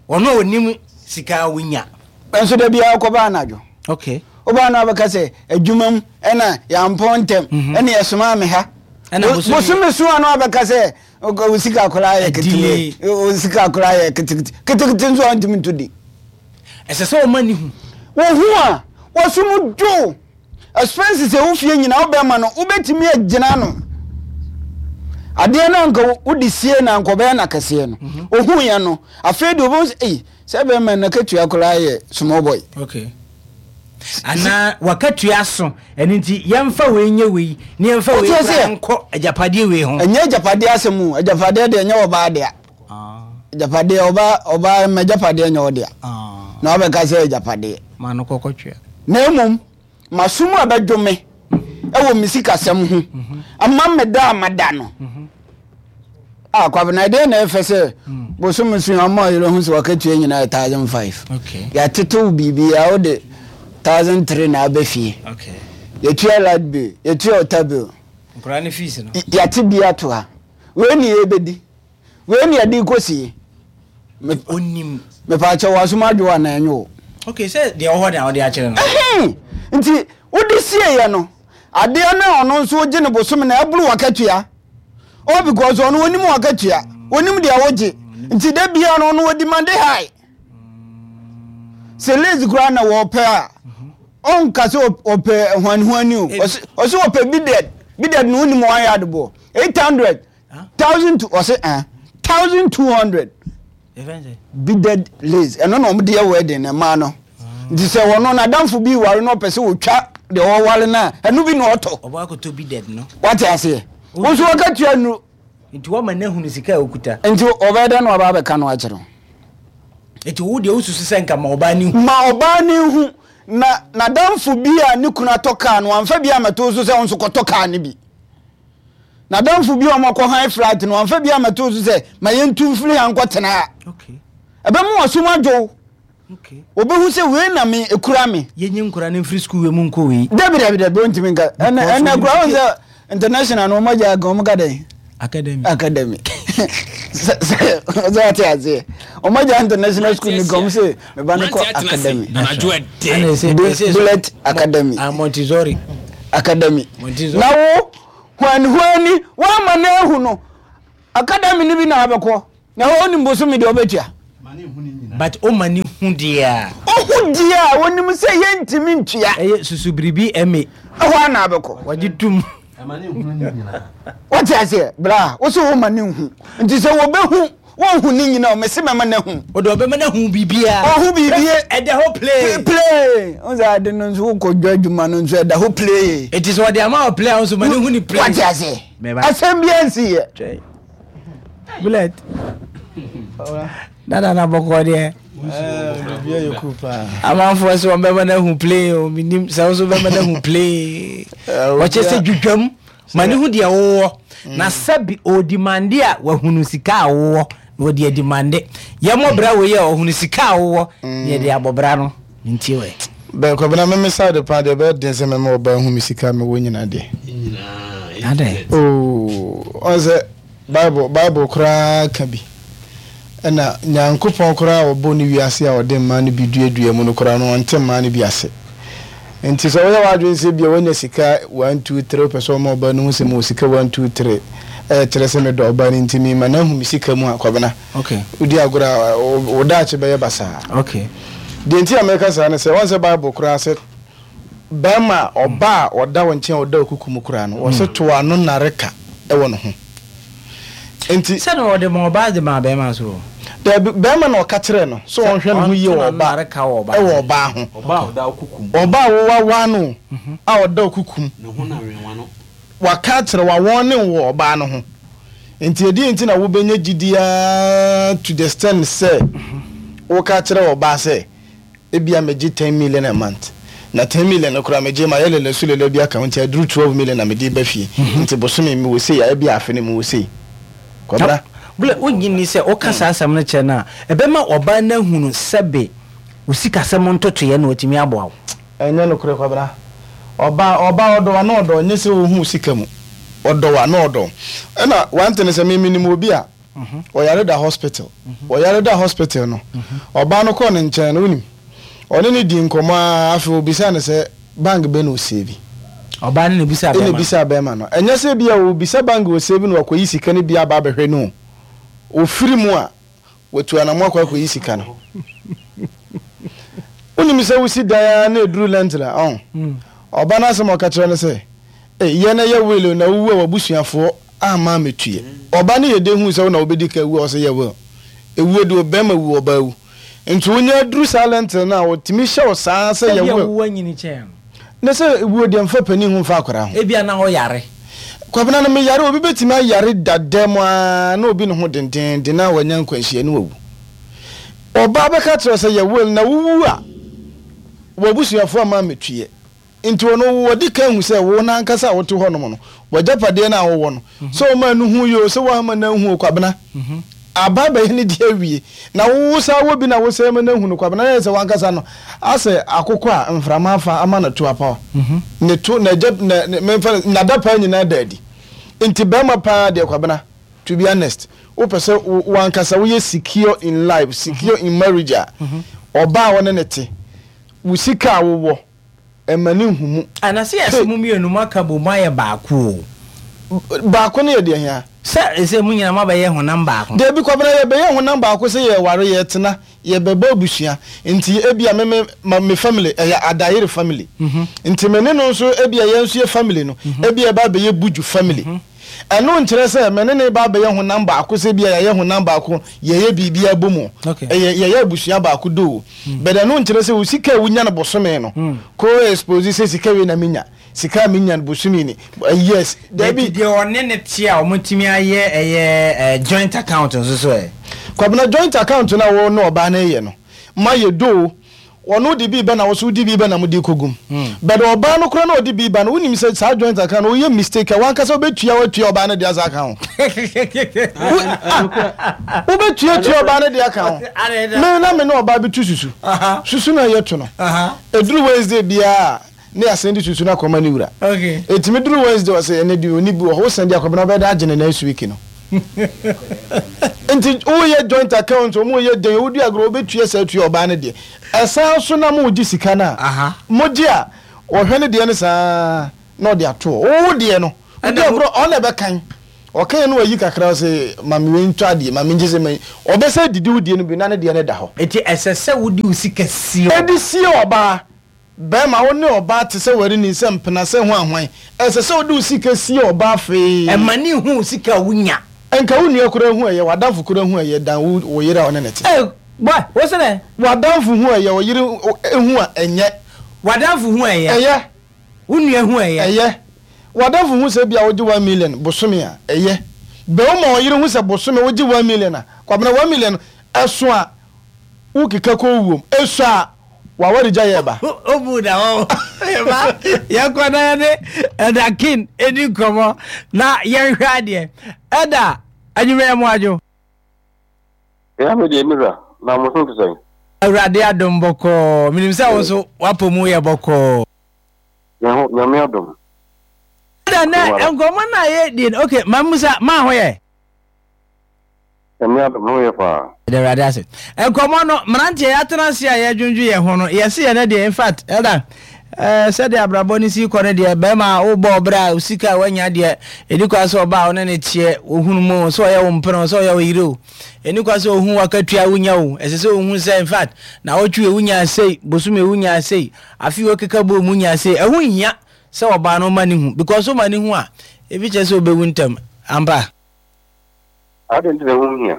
Ɔno a onim sika a wonya. Nso da biara wokɔ ba anadwo. Okay. Wobaa no abɛka sɛ adwuma mu ɛna yɛampɔn ntɛm mhm. ɛna yɛsomaa me ha. Bosome so ano abɛka sɛ wo sika koraa yɛ ketewa wo sika koraa yɛ ketekete ketekete nso a ntumi nto di. Ɛsɛ sɛ ɔma ne hu. Wohu a, wɔsom dwo. Expenses a ɛwɔ fie nyinaa wobɛma no, wobɛtumi agyina ano. Adeɛ no anka wode sie na anka ɔbɛyɛ no akɛseɛ no. Mhm. Ohuiɛ no, afei deɛ wobɛhu sɛ, ei, sɛ bɛrima no akatua koraa yɛ small boy. Okay. Anaa wakatua so, ɛno nti yɛmfa wei nyɛ wei, na yɛmfa wei koraa nkɔ agyapadeɛ wei ho. Ɛnyɛ agyapadeɛ asɛm o, agyapadeɛ deɛ ɛnyɛ ɔbaa dea. Agyapadeɛ ɔba ɔba ma agyapadeɛ nyɛ ɔdea na wabɛka sɛ agyapadeɛ. Ma no kɔkɔ twea. Na mmom maso mu abɛdwo me ɛwɔ me sikasɛm ho ama me da a mada no. Ah Kwabena ɛdeɛn na ɛfɛ sɛ bosome so yi ɔma ɔyere hu sɛ wakatua nyinaa yɛ 1005. Yɛatetew biribiara wode 1003 na aba fie. Yɛtua light bill, yɛtua water bill. Nkwadaa no fees no. Yɛate bi ato ha. Wei ne yɛbɛdi. Wei ne yɛde rekɔsie. Onim. Mepaakyɛ w'asom adwo anaa ɛnyɛ wo? Okay, sɛ deɛ ɔwɔ hɔ na wode akyerɛ no. Ɛhɛn! Nti wode sieeɛ no, adeɛ no a ɔno nso wogye no bosome no ɛboro w'akatua. All because ɔno onim w'akatua, onim deɛ wogye. Nti da biara no ɔno ɔdemande high. Sɛ lace koraa na wɔpɛ a, ɔnka sɛ ɔpɛ hwanhwani o. Ɔse ɔpɛ beaded. Beaded no wonim one yard boɔ. 800. 1000 ɔse ah 1200. Beaded lace ɛno na wɔde yɛ wedding na mmaa no. Nti sɛ ɔno n'adamfo bi ware na ɔpɛ sɛ ɔtwa deɛ ɔware no a, ɛno bi na ɔtɔ. Ɔbɔ akɔtɔ beaded no. Wate aseɛ? Wo nso wɔka nnuro. Nti wɔma no ahunu sika a ɔkuta. Nti ɔbɛyɛ dɛn na waba abɛka no akyerɛ wo? Nti wo deɛ wosusu sɛ nka ma ɔbaa no nhu. Ma ɔbaa no nhu. Na n'adamfo bi a ne kunu atɔ kaa no, wamfa bi ammɛto wo so sɛ wo nso kɔtɔ kaa no bi. N'adamfo bi a wɔakɔ han flat no, wamfa bi ammɛto wo so sɛ ma yɛntu mfiri ha nkɔtena ha. Ɛbɛma w'asom adwo wo. Obehu sɛ wei na me ekura me. Yɛnyi nkora no mfiri sukuu wei mu nkɔ wei. Dabi dabi dabi ontumi nka. Ɛnɛ ɛnɛ kura wɔn sɛ international no wɔn agya aka wɔn ka dɛn. Academy. Academy. Sɛ sɛ sɛ ɔte aseɛ. Wɔn agya international school ni kɔm sɛ meba no kɔ academy. Bullet academy. Ah Montessori. Academy. Montessori. Na wo hwani hwani wɔn ama na ehu no academy ni bi na abɛkɔ. Na onim bosome deɛ ɔbɛtua. But ɔma ne hu deɛ a. Ɔhu deɛ a ɔnim sɛ yɛntumi ntua. Ɛyɛ susu biribi ɛme. Ɛhɔ a na abɛkɔ. Wagye tum. Wote aseɛ bra wo sɛ woma ne hu nti sɛ wɔbɛhu wɔnhu ne nyina o mese mɛma no ahu. Ɔde ɔbɛma no ahu biribiara. Ɔhu biribi. Ɛda hɔ play. Play. Wo sɛ ade no nso wokɔ dwa adwuma no nso ɛda hɔ play. Nti sɛ ɔde ama wɔ play a wo nso ma ne hu ne play. Wate aseɛ. Asɛm biara nsiiɛ. Bullet. Dada na bɔkɔ deɛ. Amanfoɔ sɛ wɔn bɛma no ahu plane o menim sɛ wo nso bɛma no ahu plane. Wɔkyɛ sɛ dwudwam ma ne ho deɛ wowɔ na sɛbi ɔdimande a wahunu sika a wowɔ na wɔde adimande yɛmmɔ bra wei a ɔhunu sika a wowɔ na yɛde abɔ bra no nti wɛ. Bɛn Kwabena me me side paa deɛ ɛbɛyɛ den sɛ mɛma ɔbaa hu me sika a mewɔ nyina deɛ. Adɛn? Oh, ɔn sɛ Bible Bible koraa ka bi. Ɛna Nyankopɔn koraa a ɔbɔ ne wiase a ɔde mmaa no bi duadua mu no koraa no ɔnte mmaa no bi ase. Nti sɛ woyɛ w'adwene sɛ ebia woanya sika one two three wopɛ sɛ ɔma ɔbaa no hu sɛ mewɔ sika one two three ɛkyerɛ sɛ medɔ ɔbaa no nti mema no ahu me sika mu a Kwabena Okay. Wodi agorɔ a, wo daakye bɛyɛ basaa. Okay. Deɛ nti a meka saa ne sɛ, wɔn sɛ Bible koraa sɛ bɛrima a ɔba a ɔda wo nkyɛn a ɔda okuku mu koraa no, wɔsɛ to ano nnareka wɔ ne ho. Nti. Sɛ na ɔde ma ɔbaa de maa bɛrima nso o. Daabi, bɛrima na ɔka kyerɛɛ no sɛ ɔnhwɛ ne ho yie wɔ ɔba wɔ ɔbaa ho. Ɔbaa a ɔda okuku mu. Ɔbaa a wowawaa no a ɔda okuku mu. Ne ho na wenwa no. Waka akyerɛ wo, awɔne wo wɔ ɔbaa no ho. Nti ɛdeɛn nti na wobɛnya gyidie ara to the extent sɛ woka kyerɛ ɔbaa sɛ ebia megye ten million a month, na ten million no koraa megye mayɛ lele so lele bi aka ho nti aduru twelve million na mede ba fie, nti bosome mewɔ sei a ebia afe no mewɔ sei. Kwabena. Bla, wonnye nni sɛ woka saa asɛm no kyerɛ no a, ɛbɛma ɔbaa no ahunu sɛbe wo sikasɛm ntotoeɛ na watumi aboa wo? Ɛnyɛ nokorɛ Kwabena. Ɔbaa ɔbaa ɔdɔ wo a na ɔdɔ wo nyɛ sɛ ɔhu wo sika mu. Ɔdɔ wo a na ɔdɔ wo. Ɛna one thing ne sɛ me menim obi a ɔyare da hospital. Ɔyare da hospital no ɔbaa no kɔɔ ne nkyɛn no wonim ɔne no dii nkɔmmɔ ara afei ɔbisaa no sɛ bank bɛn na ɔsave. Ɔbaa no na ɛbisaa Ɛna bɛrima no. ɛbisaa bɛrima no. Ɛnyɛ sɛ ebia ɔrebisa bank a ɔsave na wakɔyi sika no bi aba abɛhwɛ no o. Ɔfiri mu a Watu anamɔ akɔ akɔyi sika no. Wonim sɛ wosi dan ara na ɛduru lentil a, ɔn. Ɔba no asɛm a ɔka kyerɛ no sɛ, Ei, yɛ na yɛ will o, na wowu a w'abusuafoɔ amma ammɛtuiɛ. Ɔba no yɛ dɛn huu sɛ wo na wobɛdi kan awu a ɔsɛ yɛ will? Ɛwuo deɛ ɔbarima wu, ɔbaa wu. Nti wonya aduru saa lentil no a, ɔtumi hyɛ wo saa sɛ yɛ Ebia will. wo anyini kyɛn no. Ne sɛ wuo deɛ mfa panin ho mfa akwadaa ho. Ebia na ɔyare. Kwabena no meyare obi bɛtumi ayare dada mu ara na obi ne ho dendeenden na wanya nkwanhyia na wawu. Ɔbaa bɛka kyerɛ wo sɛ yɛ will na wowu a w'abusuafoɔ amma ammɛtuiɛ. Nti ɔno wadi kan ahu sɛ wo no ankasa a wote hɔnom no, w'agyapadeɛ no a wowɔ no, sɛ ɔmaa no hui oo, sɛ woamma no anhu oo, Kwabena, aba abɛyɛ ne deɛ awie. Na wo wosan wɔ bi na wosan ma no ahu no, Kwabena, na ɛyɛ sɛ w'ankasa no, asɛ akokɔ a mframa afa ama no to apaw. Ne to, n'agya, na, memfa no, n'adapaa nyinaa da adi. Nti barima paa deɛ, Kwabena, to be honest, wopɛ sɛ wo, w'ankasa woyɛ secure in life, secure in marriage a, ɔbaa a wo ne no te, wo sika a wowɔ, mma no nhu mu. Ah na sɛ yɛse mo mienu mo aka bom ayɛ baako o. Baako no yɛ deɛ hia? Sɛ ɛsɛ mo nyinaa mo abɛyɛ honam baako. Dabi Kwabena yɛbɛyɛ honam baako sɛ yɛware yɛtena yɛbɛbɔ abusua nti ebia me me ma me family ɛyɛ Adayere family nti me ne no nso ebia yɛn nso yɛ family no ebia ɛba abɛyɛ Buju family Ɛno nkyerɛ sɛ me ne no reba abɛyɛ honam baako sɛ ebia yɛayɛ honam baako, yɛyɛ biribi abom o. Ɛyɛ yɛyɛ abusua baako though. But ɛno nkyerɛ sɛ wo sika a wonya no bosome no, kɔ expose sɛ sika wei na menya, sika a menya no bosome ni. Yes, dabi. Nti deɛ ɔne no te a wɔatumi ayɛ ɛyɛ joint account nso so ɛ? Kwabena, joint account no a wo ne ɔbaa no reyɛ no, mayɛ though. Ɔno de bi ba na wo nso wode bi ba na mode kɔgu mu. But ɔbaa no koraa na ɔde bi ba no, wonim sɛ saa joint account no woyɛ mistake a w'ankasa wobɛtua watua ɔbaa no de asa aka ho. Wo ah wobɛtua tua ɔbaa no de aka ho. Me na me ne ɔbaa bi to susu. Susu no a yɛto no, ɛduru Wednesday biara a ne yɛasan de susu no akɔma ne wura. Ɛtumi duru Wednesday ɔsɛ ɛnɛ deɛ ɔnni bi wɔ hɔ, wosan de akɔma no ɔbɛda agye no next week no. Nti woyɛ joint account wɔn yɛ den wodi agorɔ wobɛtua saa tua ɔbaa no deɛ ɛsan so na mogye sika no a mogye a ɔhwɛ ne deɛ no saa na ɔde ato hɔ wo deɛ no wodi agorɔ ɔno na ɛbɛkan ɔkan no wayi kakra ɔsɛ ma me wei ntɔ adeɛ ma me ngye sɛ ma ɔbɛsɛ didi wo deɛ no bi na ne deɛ no da hɔ. Nti ɛsɛ sɛ wode wo sika sie ɔbaa. Ɛde sie ɔbaa. Bɛrima, wo ne ɔbaa te sɛ w'ani sɛ mpena sɛ hwan hwan. Ɛsɛ sɛ wode wo sika sie ɔbaa fee. Ɛma ne hu wo sika a wunya. Nka wo nua koraa hu ɛyɛ, w'adamfo koraa hu ɛyɛ dan wo wo yere a wo ne no te. Ei boy, wo se dɛn? W'adamfo hu ɛyɛ, wo yere hu a ɛnyɛ. W'adamfo hu ɛyɛ. Ɛyɛ. Wo nua hu ɛyɛ. Ɛyɛ. W'adamfo hu sɛ ebia wogye 1 million bosome a, ɛyɛ. Bɛ woma wo yere hu sɛ bosome wogye 1 million a, Kwabena 1 million no ɛso a wokeka kɔ wuom, ɛsua a W'awaregya yɛ ba. Obu da hɔ ba yɛnkɔ na yɛne Elder King ɛdi nkɔmmɔ na yɛnhwɛ adeɛ. Elder, anwummerɛ yɛ mo adwo. Ɛya me deɛ me wura, na mo ho te sɛn? Awurade adom bɔkɔɔ. Menim sɛ wo nso w'apɔ mu yɛ bɔkɔɔ. Yɛn ho, Nyame adom. Elder, nɛ nkɔmmɔ no a yɛdie no, okay, ma mmusa, maa ho yɛ? Nyame adom, me ho yɛ paa. Yɛda Awurade ase. Nkɔmmɔ no, mmeranteɛ yɛatena ase a yɛredwendwen yɛn ho no, yɛse yɛn deɛ, in fact, elder, eh, sɛdeɛ abrabɔ no si kɔ no deɛ, bɛrima a wobɔ ɔbrɛ a sika a woanya deɛ, ɛni kwan sɛ ɔbaa a wo ne no teɛ, wohunu mu o, sɛ ɔyɛ wo mpena o, sɛ ɔyɛ wo yere o, ɛni kwan sɛ ɔhu w'akatua a wonya o, ɛsɛ sɛ ɔhu sɛ, in fact, naawɔtwe wei wonyaa sei, bosome wei wonyaa sei, afe wei wokeka bɔɔ mu wonyaa sei, ɛho nhia sɛ ɔbaa no woma no hu, because woma no hu a, ebi kyerɛ sɛ ɔbɛwu ntɛm, ampa? Adɛn nti na ɛho hia?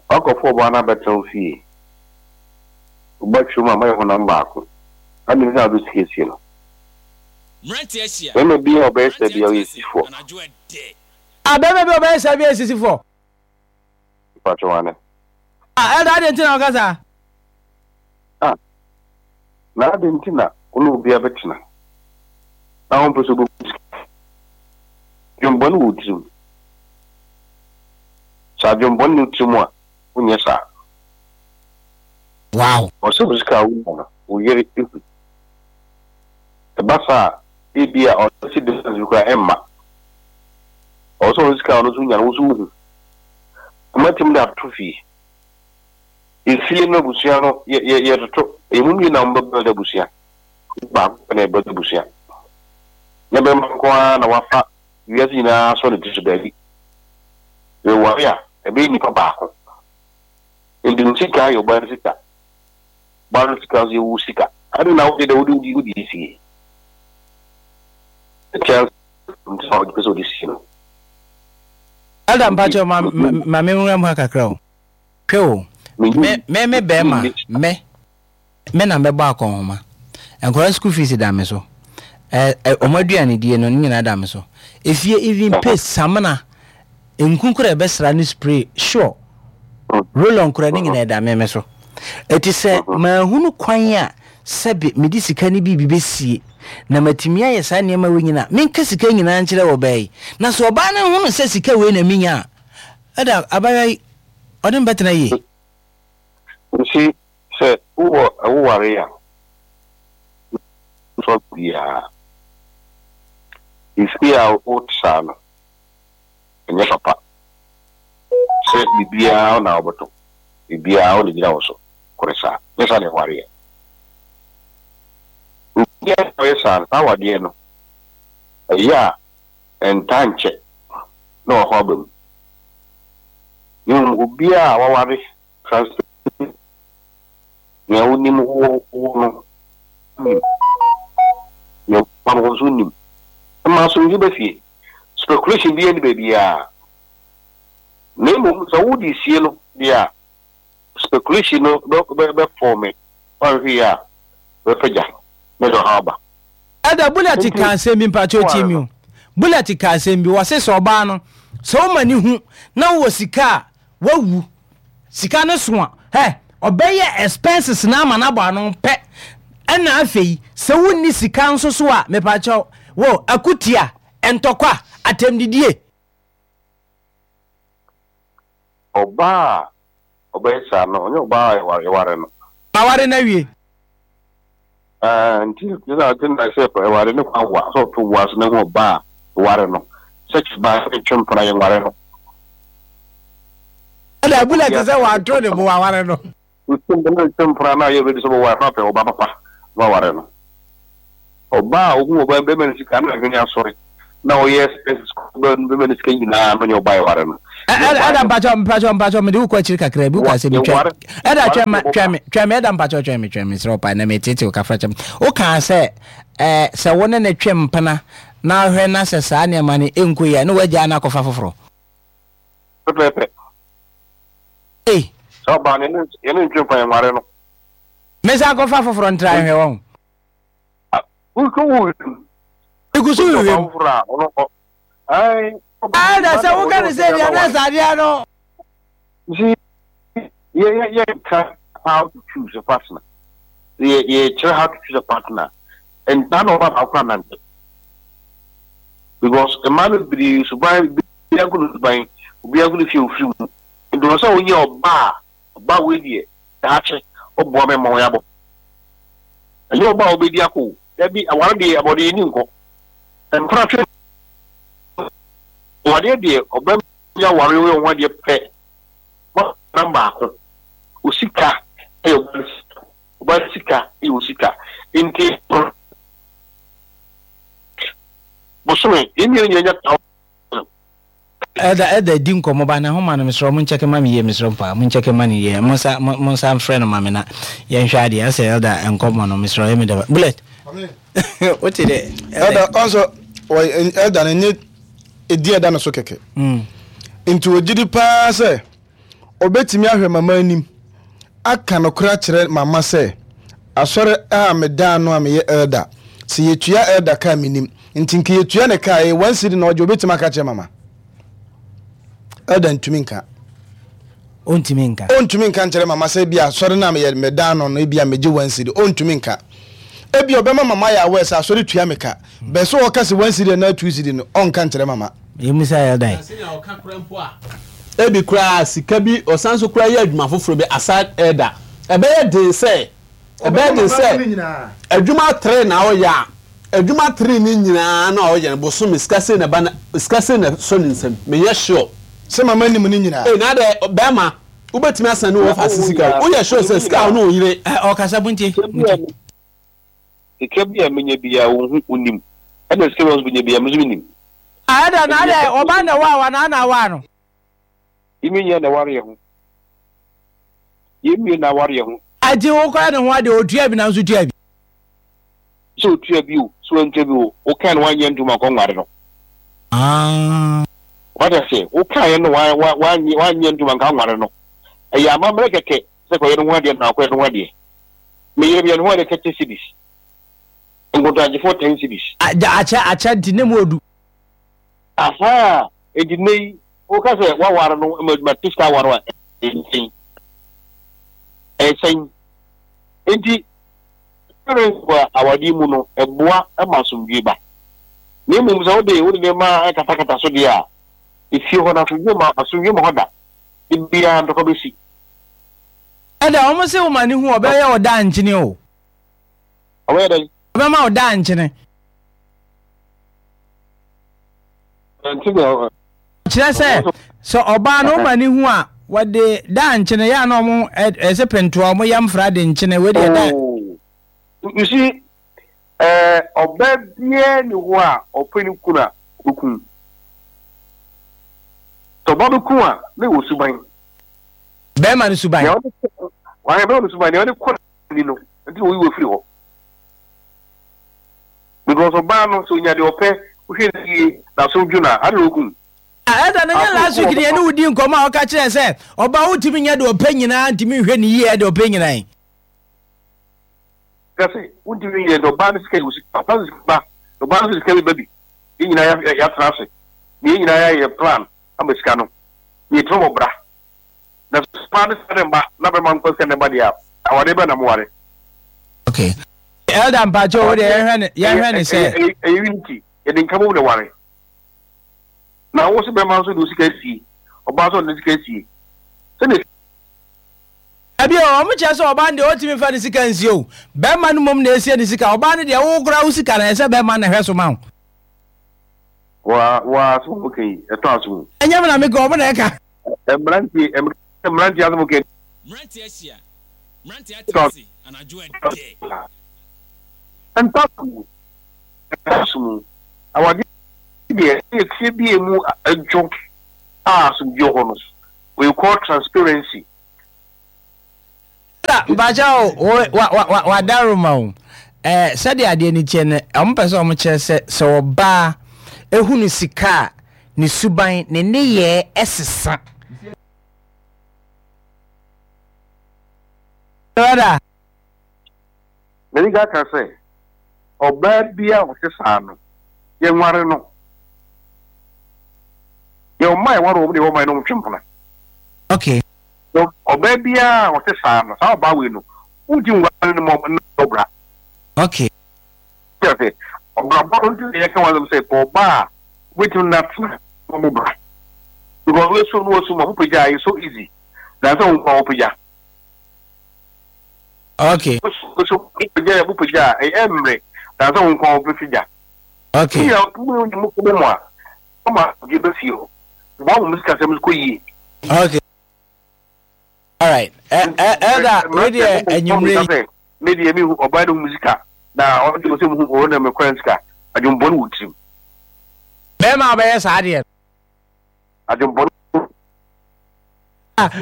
Woakɔfa ɔbaa no abɛtena wo fie. Wo ba twam a, moayɛ honam baako. Adɛn nti na wode sika sie no? Barima biara a ɔbɛyɛ saa biara, ɔyɛ sisifoɔ. Ah, barima bi a ɔbɛyɛ saa biara yɛ sisifoɔ. Mpakyɛw, aane. Ah, Elder, adɛn nti na woka saa? Ah, na adɛn nti na wo ne obi abɛtena na wompɛ sɛ obehu sika? Adwemmɔne wɔ wo tirim. Sɛ adwemmɔne nni wo tirim a, wonyɛ saa. Wow. Ɔsɛ wo sika a wunya no, wo yere hu. Ɛba saa a, ebia ɔno si difference bi koraa ɛmma. Ɔwɔ sɛ ɔno sika a ɔno nso nya no, wo nso wuhu. Moatumi de ato fie. Efie no abusua no yɛ yɛ yɛtoto emu mmienu na wɔbɛ build abusua baako pɛ na yɛ build abusua nyɛ bɛrima nko ara na wafa wiase nyinaa asɔ ne ti so daabi yɛware a ɛbɛyɛ nipa baako nti wo sika yɛ ɔbaa no sika ɔbaa no sika nso yɛ wo sika ade na wode dɛ wode wode wode sie ɛkyɛ nti na wode pɛ sɛ wode sie no. Elder mpakyɛw ma ma me nwura mu ha kakra o. Hwɛ o, me, me, me bɛrima, me, me na mɛbɔ akɔnhoma. Nkwadaa school fees da me so. Ɛ, ɛ, wɔn aduanedie no, ne nyinaa da me so. Efie, even paste, samina, nku koraa ɛbɛsra ne spray, sure, roll on koraa, ne nyinaa ɛda me me so. Eti sɛ manhunu kwan a. sɛbe mede sika no biribi bɛsie na matumi ayɛ saa nneɛma wei nyinaa, menka sika nyinaa nkyerɛ ɔbaa yi. Na sɛ ɔbaa no hunu sɛ sika wei na menya a, ɛda abaayewa yi, ɔne me bɛtena yie. Nti sɛ wowɔ woware a, nsɔ biara. Efie a wote saa no, ɛnyɛ papa. Sɛ biribiara wo na wobɛtɔ, biribiara wo na egyina wo so kore saa. Nyɛ saa na ɛwareɛ. Obiara a ɔyɛ saa no, saa awadeɛ no, ɛyɛ a ɛntaa nkyɛ na ɔhaw aba mu. Na mmom obiara a waware transparent, nea wonim wo wo no nim, nea wonim wo nso nim. Ɛma asomdwoe ba fie. Speculation biara nni baabiara. Na mmom sɛ wode sie no deɛ a, speculation no bɛ bɛ bɛfɔɔme, woanhwɛ yie a bɛfa gya na ɛde ɔhaw aba. Elder Bullet Nti ka asɛm bi mpakyɛw tie woware me no. o. Bullet ka asɛm bi wɔse sɛ ɔbaa no sɛ woma ne hu na wowɔ sika a wawu sika no so a hɛ ɔbɛyɛ expenses no ama no abɔ ano pɛ ɛna afei sɛ wonni sika nso so a mepakyɛw wo akutia ntɔkwa atɛmdidie. Ɔbaa a ɔbɛyɛ saa no, ɔnyɛ ɔbaa a yɛware no. Maware no awie. Ɛɛ, nti na ɔte na sɛ ɛware ne kwan wa sɛ ɔto bo ase na hu ɔbaa a ɛware no sɛ kyɛ baa sɛ ntwe mpena yɛnware no. Ɛna abula te sɛ wanto ne bo waware no. Ntwe mpena na ɔyɛ ready sɛ ɔbɛware no apɛ ɔbaa papa na waware no. Ɔbaa a ohu ɔbaa bɛrima no sika na adwene asɔre na ɔyɛ expenses kɔ bɛrima no sika nyinaa no nyɛ ɔbaa ɛware no. Ɛda mpakyɛ mpakyɛ mpakyɛ mede wokɔ akyiri kakra bi woka sɛ metwa ɛda twɛn ma twɛn me twɛn me ɛda mpakyɛ twɛn me twɛn me srɛ ɔpa na metete wo kafra kyɛm wokaa sɛ ɛɛ sɛ wo ne ne twe mpena na ahwɛ na sɛ saa nneɛma no ɛnkɔ yie a na wagyaa no akɔfa foforɔ. Pɛpɛɛpɛ. Ei. Sɛ ɔbaa no yɛne ntwe mpa yɛnware no. Mensan akɔfa foforɔ ntra nhwɛ wɔn. Egu so hwehwɛ mu. Ɛna sɛ woka ne sɛ deɛ na sɛ adeɛ no. See, yɛ yɛ yɛ nka how to choose a partner. Yɛ yɛ kyerɛ how to choose a partner. Ntaa na ɔba baako anante. Because mmaa no bebree suban obiara nko ne suban, obiara nko ne fie ofiri mu. Nti wɔ sɛ wonyɛ ɔbaa Ɔbaa wei deɛ daakye ɔboa me ma wɔn abɔ. Ɛnyɛ ɔbaa a ɔbɛdi akɔ o. Dabi, aware deɛ abɔde yɛni nkɔ. Mpena twe awadeɛ deɛ ɔbɛma bi aware woyɛ ho adeɛ pɛ. Nam baako. Osika ɛyɛ ɔbaa no sika. Ɔbaa no sika ɛyɛ osika. Nti bosome yɛn mmienu nyinaa nya Elder elder di nkɔmɔ ba na ho ma no mesrɛ mo nkyɛke ma me yie mesrɛ mo paa mo nkyɛke ma no yie mo nsa mo nsa mfrɛ no ma me na yɛnhwɛ adeɛ asɛ elder nkɔmɔ no mesrɛ ɔyɛ me dɛ bullet wote dɛ elder ɔnso elder no nye ɛdi ɛda no so kɛkɛ mm. nti ɔgye di paa sɛ ɔbɛtumi ahwɛ mama anim aka nokorɛ akyerɛ mama sɛ asɔre a meda ano a meyɛ elder sɛ yɛtua elder ka a menim nti nka yɛtua ne ka a ɛyɛ one cedi na ɔgye ɔbɛtumi aka akyerɛ mama elder ntumi nka ɔntumi nka ɔntumi nka nkyerɛ mama sɛ ebi asɔre no a meyɛ meda ano no ebi a megye one cedi ɔntumi nka ebi ɔbɛma mama yɛ aware sɛ asɔre tua me ka bɛɛ sɛ ɔka sɛ one cedi anaa two cedi no ɔnka nkyerɛ mama Yɛmmisa Elder yi. Sɛnea ɔka koraa mpo a, ebi koraa sika bi, ɔsan nso koraa yɛ adwuma foforɔ bi aside Elder. Ɛbɛyɛ den sɛ, ɛbɛyɛ den sɛ adwuma tere na ɔyɛ a, adwuma tere no nyinaa no a ɔyɛ no, bosome sika sei na ɛba na, sika sei na ɛsɔ ne nsam. Menyɛ sure. Sɛ mama nim ne nyinaa. Ei, na adɛ, bɛrima, wobɛtumi asan ne wɔfa ase sika o. Woyɛ sure sɛ sika a wo ne wo yere. Ɛ, ɔkasa, montie, montie. Sika bi a menya biara wonhu, wonnim. Ɛna sika bi a wo nso benya biara me nso mennim. Ah, ɛda na adɛ ɔba na ɛwaa wo anaa na awaa no? Yɛn mmienu nyinaa na ɛware yɛn ho. Yɛn mmienu na aware yɛn ho. Agye wo kɔyɛ ne ho adeɛ, ɔtua bi na wo nso tua bi. Sɛ ɔtua bi o, sɛ wantua bi o, wokae no wanyɛ ntom ankɔ nware no. Ah. Wate aseɛ, wokaeɛ no wanyɛ ntom anka nware no. Ɛyɛ amammerɛ kɛkɛ sɛ kɔyɛ ne ho adeɛ na akɔyɛ ne ho adeɛ. Me yere meyɛ ne ho adeɛ 30 cedis. Nkontagyefoɔ 10 cedis. Akyɛ akyɛ nti ne mu odu. Ahaa, enti nnɛ yi woka sɛ woaware no ma mate sika aware a, ɛyɛ sɛn? Ɛyɛ sɛn? Enti. Transparency wɔ awadeɛ mu no, ɛboa ma asomdwoe ba. Na mmom sɛ wode wode nneɛma katakata so deɛ a, efie hɔ no asomdwoe mma asomdwoe mma hɔ da. Da biara ntɔkwa bɛsi. Ɛda wɔn se wo ma ne hu ɔbɛyɛ wo daa nkyene o. Ɔbɛyɛ dɛn? Ɔbɛma wo daa nkyene. Ɛnte deɛ Kyerɛ sɛ, sɛ ɔbaa no woma ne hu a, wɔde daa nkyene yɛ a na wɔn ɛsɛ pentoa wɔn yam fra de nkyene wei deɛ daa. Oh, you see, ɛɛ ɔbaa biara ni hɔ a ɔpɛ ne kunu a ɔbɛkum. Sɛ ɔbaa bɛkum a, na ɛwɔ suban. Bɛrima no suban. Nea ɔde kɔ, wɔn bɛrima no suban, nea ɔde kɔ ni no, nti na oyi wɔ firi hɔ. Because ɔbaa no sɛ onya deɛ ɔpɛ, wohwɛ no yie, n'aso dwo no a, ade na okum. Ah, Elder, na nyɛ last week ni yɛne wo di nkɔmmɔ a ɔka kyerɛ sɛ ɔbaa wotumi nyɛ deɛ ɔpɛ nyinaa ntumi nhwɛ ne yie deɛ ɔpɛ nyinaa yi. Ka sɛ wontumi nyɛ deɛ ɔbaa no sika yɛ sika, ɔbaa no sika ba, ɔbaa no sika bi ba bi. Yɛn nyinaa yɛatena ase, na yɛn nyinaa yɛayɛ plan ama sika no, na yɛtumi bɔ bra. Na sɛ ɔbaa no sika ne mma na bɛma nkɔ sika ne mma deɛ a, awadeɛ bɛn na moware? Okay. Elder mpakyɛ wo deɛ yɛhwɛ ne yɛhwɛ ne sɛ. Ɛyɛ unity yɛde nka bom na ware. Na wo se bɛma nso de wo sika sie ɔbaa nso ɔde ne sika sie sɛdeɛ. Dabi o, wɔn kyerɛ sɛ ɔbaa no deɛ ɔntumi nfa ne sika nsie o, bɛrima no mmom na esie ne sika, ɔbaa no deɛ wo koraa wo sika no ɛsɛ bɛrima no na ɛhwɛ so ma wo. Wa wa asɛm a wɔka yi ɛtɔ asom o. Ɛnyɛ me na meka wɔn na ɛka. Mmeranteɛ mmeranteɛ asɛm kɛ. Mmeranteɛ ahyia, mmeranteɛ atena ase anadwo ɛdɛ. Ɛntɔ aso mu, ɛntɔ aso mu. Awadeɛ deɛ ɛyɛ fie bi a emu dwo a asomdwoeɛ wɔ hɔ no, we call transparency. Mpakyɛ o, wa wa wa wadaroma o. Ɛɛ sɛdeɛ adeɛ no teɛ no, wɔn pɛ sɛ wɔn kyerɛ sɛ sɛ ɔbaa ehunu sika a, ne suban, ne nneyɛɛ ɛsesa. Brother. Madi kan aka sɛ, ɔbaa biara a ɔte saa no, yɛnware no. Yɛwɔ mmaa a yɛware wɔn na yɛwɔ mmaa a yɛne wɔn twe mpena. Okay. So ɔbaa biara a ɔte saa no, saa ɔbaa wei no, wontumi nware no ma ɔmmɔ bra. Okay. Kyerɛ sɛ, ɔbrabɔ no nti na yɛka wɔn asɛm sɛ, pɛ ɔbaa a wobɛtumi no atena na ɔmmɔ bra. Because woasu no woasu ma wopagya a, it's so easy than sɛ wo nko ara wopagya. Okay. Wosu wopagya a wopagya a, ɛyɛ mmerɛ than sɛ wo nko ara wobɛpagya. Okay. Mo nyinaa mo mo mu a, ɔma asomdwoe ba fie hɔ. Boa ma mo sikasɛm kɔ yie. Okay. All right. Elder, wei deɛ anwummere yi. Me deɛ mehu ɔbaa no hu sika na ɔde sɛ muhu ɔwɔ na mekora sika adwembɔne wɔ tirim. Bɛrima a ɔbɛyɛ saa deɛ. Adwembɔne.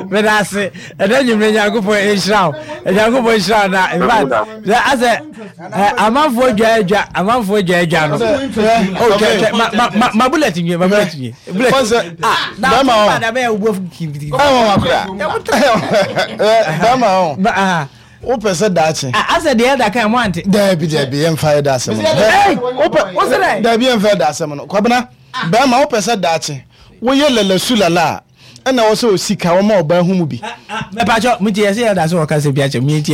Meda ase ɛnɛ nwumire Nyankopɔn nhyira wo Nyankopɔn nhyira wo na in fact sɛ asɛ amanfoɔ dwa adwa amanfoɔ dwa adwa no oh twɛ twɛ ma ma ma ma bullet nwie ma bullet nwie bullet ah na bɛrima hɔ na bɛyɛ wo kitikiti ɛwɔ wa kura bɛrima hɔ wopɛ sɛ daakye asɛ deɛ ɛda kan mo ante daabi daabi yɛmfa yɛ da asɛm no wopɛ daabi yɛmfa yɛ da asɛm no kwabena bɛrima wopɛ sɛ daakye woyɛ lalasu lala a ɛna wɔ sɛ osika wɔma ɔbaa hu mu bi mɛpakyɛ mo ti yɛ sɛ yɛda so wɔka sɛ bi akyɛ mi ti.